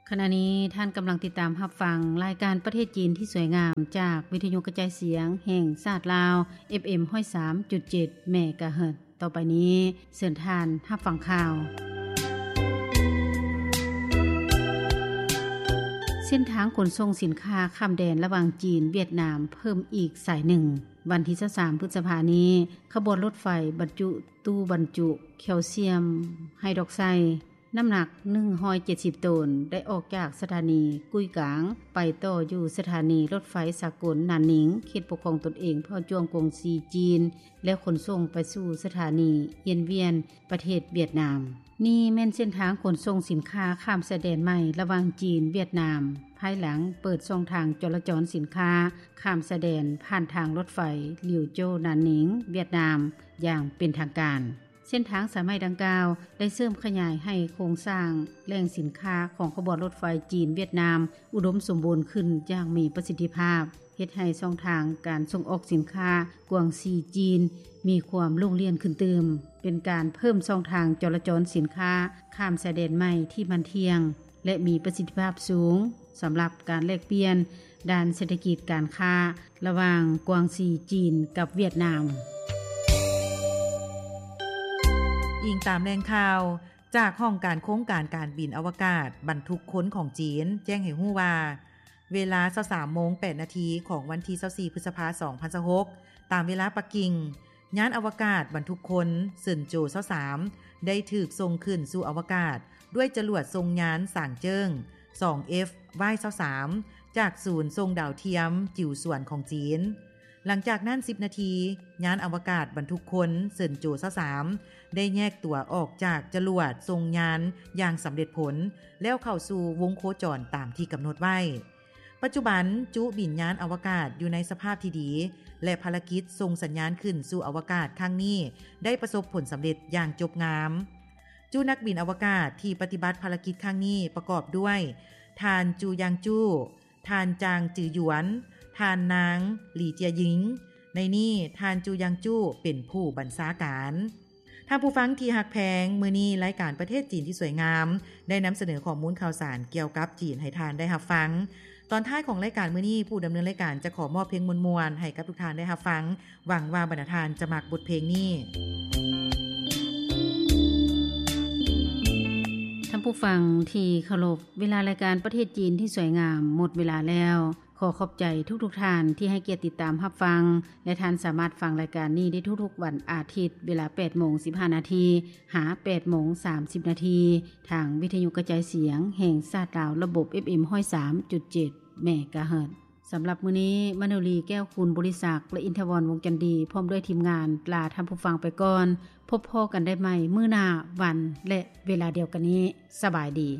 ຂະນະນີ້ທ່ານກຳລັງຕິດຕາມຮັບຟັງລາຍການປະເທດຈີນທີ່ສວຍງາມ ຈາກວິທະຍຸກະຈາຍສຽງແຫ່ງຊາດລາວ ເອັຟເອັມ ຮ້ອຍສາມຈຸດເຈັດ ເມກາເຮີດ. ຕໍ່ໄປນີ້ເຊີນທ່ານຮັບຟັງຂ່າວ. ເສັ້ນທາງຂົນສົ່ງສິນຄ້າຂ້າມແດນລະຫວ່າງຈີນ-ຫວຽດນາມເພີ່ມອີກສາຍໜຶ່ງ. ວັນທີຊາວສາມ ພຶດສະພານີ້, ຂະບວນລົດໄຟບັນຈຸຕູ້ບັນຈຸແຄວຊຽມໄຮດຣອກໄຊ ນ້ຳໜັກໜຶ່ງຮ້ອຍເຈັດສິບໂຕນ ໄດ້ອອກຈາກສະຖານີກຸ້ຍກາງ ໄປຕໍ່ຢູ່ສະຖານີລົດໄຟສາກົນນານນິງ ເຂດປົກຄອງຕົນເອງເຜົ່າຈວງກວາງຊີຈີນ ແລ້ວຂົນສົ່ງໄປສູ່ສະຖານີອຽນວຽນ ປະເທດຫວຽດນາມ. ນີ້ແມ່ນເສັ້ນທາງຂົນສົ່ງສິນຄ້າຂ້າມຊາຍແດນໃໝ່ລະຫວ່າງຈີນ-ຫວຽດນາມ ພາຍຫຼັງເປີດຊ່ອງທາງຈໍລະຈອນສິນຄ້າຂ້າມຊາຍແດນຜ່ານທາງລົດໄຟ ຫຼຽວໂຈ ນານນິງ ຫວຽດນາມ ຢ່າງເປັນທາງການ. ເສັ້ນທາງສາຍໃໝ່ດັ່ງກ່າວໄດ້ເສີມຂະຫຍາຍໃຫ້ໂຄງສ້າງແຫຼ່ງສິນຄ້າຂອງຂະບວນລົດໄຟຈີນ-ຫວຽດນາມ ອຸດົມສົມບູນຂຶ້ນຢ່າງມີປະສິດທິພາບ, ເຮັດໃຫ້ຊ່ອງທາງການສົ່ງອອກສິນຄ້າກວາງຊີຈີນມີຄວາມໂລ່ງລ່ຽນຂຶ້ນຕື່ມ, ເປັນການເພີ່ມຊ່ອງທາງຈໍລະຈອນສິນຄ້າຂ້າມຊາຍແດນໃໝ່ທີ່ໝັ້ນທ່ຽງ ແລະ ມີປະສິດທິພາບສູງ ສຳລັບການແລກປ່ຽນດ້ານເສດຖະກິດການຄ້າລະຫວ່າງກວາງຊີຈີນກັບຫວຽດນາມ. ອີງຕາມແຫຼ່ງຂ່າວຈາກຫ້ອງການໂຄງການການບິນອະວະກາດບັນທຸກຄົນຂອງຈີນ ແຈ້ງໃຫ້ຮູ້ວ່າ ເວລາຊາວສາມໂມງແປດນາທີຂອງວັນທີຊາວສີ່ ພຶດສະພາ ສອງພັນຊາວຫົກ ຕາມເວລາປັກກິ່ງ, ຍານອະວະກາດບັນທຸກຄົນເຊິນໂຈ ຊາວສາມ ໄດ້ຖືກສົ່ງຂຶ້ນສູ່ອະວະກາດດ້ວຍຈະຫຼວດສົ່ງຍານສາງເຈິ້ງ ສອງເອັຟ ວາຍ ຊາວສາມ ຈາກສູນສົ່ງດາວທຽມຈິວສວນຂອງຈີນ. ຫຼັງຈາກນັ້ນສິບນາທີ, ຍານອະວະກາດບັນທຸກຄົນເຊິນໂຈ ຊາວສາມ ໄດ້ແຍກຕົວອອກຈາກຈະຫຼວດສົ່ງຍານຢ່າງສຳເລັດຜົນ ແລ້ວເຂົ້າສູ່ວົງໂຄຈອນຕາມທີ່ກຳນົດໄວ້. ປັດຈຸບັນ, ຈຸບິນຍານອະວະກາດຢູ່ໃນສະພາບທີ່ດີ ແລະ ພາລະກິດສົ່ງສັນຍານຂຶ້ນສູ່ອະວະກາດຄັ້ງນີ້ໄດ້ປະສົບຜົນສຳເລັດຢ່າງຈົບງາມ. ຈຸນັກບິນອະວະກາດທີ່ປະຕິບັດພາລະກິດຄັ້ງນີ້ປະກອບດ້ວຍ ທ່ານ ຈູ ຢາງຈູ, ທ່ານ ຈາງ ຈືອຢວນ, ທ່ານ ນາງ ຫຼີ ເຈຍຢິງ. ໃນນີ້, ທ່ານ ຈູ ຢາງຈູ ເປັນຜູ້ບັນຊາການ. ທ່ານຜູ້ຟັງທີ່ຮັກແພງ, ມື້ນີ້ລາຍການປະເທດຈີນທີ່ສວຍງາມ ໄດ້ນຳສະເໜີຂໍ້ມູນຂ່າວສານກ່ຽວກັບຈີນໃຫ້ທ່ານໄດ້ຮັບຟັງ. ຕອນທ້າຍຂອງລາຍການມື້ນີ້, ຜູ້ດຳເນີນລາຍການຈະຂໍມອບເພງມ່ວນໆໃຫ້ກັບທຸກທ່ານໄດ້ຮັບຟັງ. ຫວັງວ່າບັນດາທ່ານຈະມັກບົດເພງນີ້. ທ່ານຜູ້ຟັງທີ່ເຄົາລົບ, ເວລາລາຍການປະເທດຈີນທີ່ສວຍງາມໝົດເວລາແລ້ວ. ຂໍຂອບໃຈທຸກໆທ່ານທີ່ໃຫ້ກຽດຕິດຕາມຮັບຟັງ ແລະ ທ່ານສາມາດຟັງລາຍການນີ້ໄດ້ທຸກໆວັນອາທິດ ເວລາແປດໂມງສິບຫ້ານາທີ ຫາ ແປດໂມງສາມສິບນາທີ ທາງວິທະຍຸກະຈາຍສຽງແຫ່ງຊາດລາວ ລະບົບ ເອັຟເອັມ ຮ້ອຍສາມຈຸດເຈັດ ເມກາເຮີດ. ສຳລັບມື້ນີ້, ມະໂນລີ ແກ້ວຄູນບໍລິສັກ ແລະ ອິນທະວອນ ວົງຈັນດີ ພ້ອມດ້ວຍທີມງານ ລາທ່ານຜູ້ຟັງໄປກ່ອນ. ພົບພໍ້ກັນໄດ້ໃໝ່ມື້ໜ້າວັນ ແລະ ເວລາດຽວກັນນີ້. ສະບາຍດີ.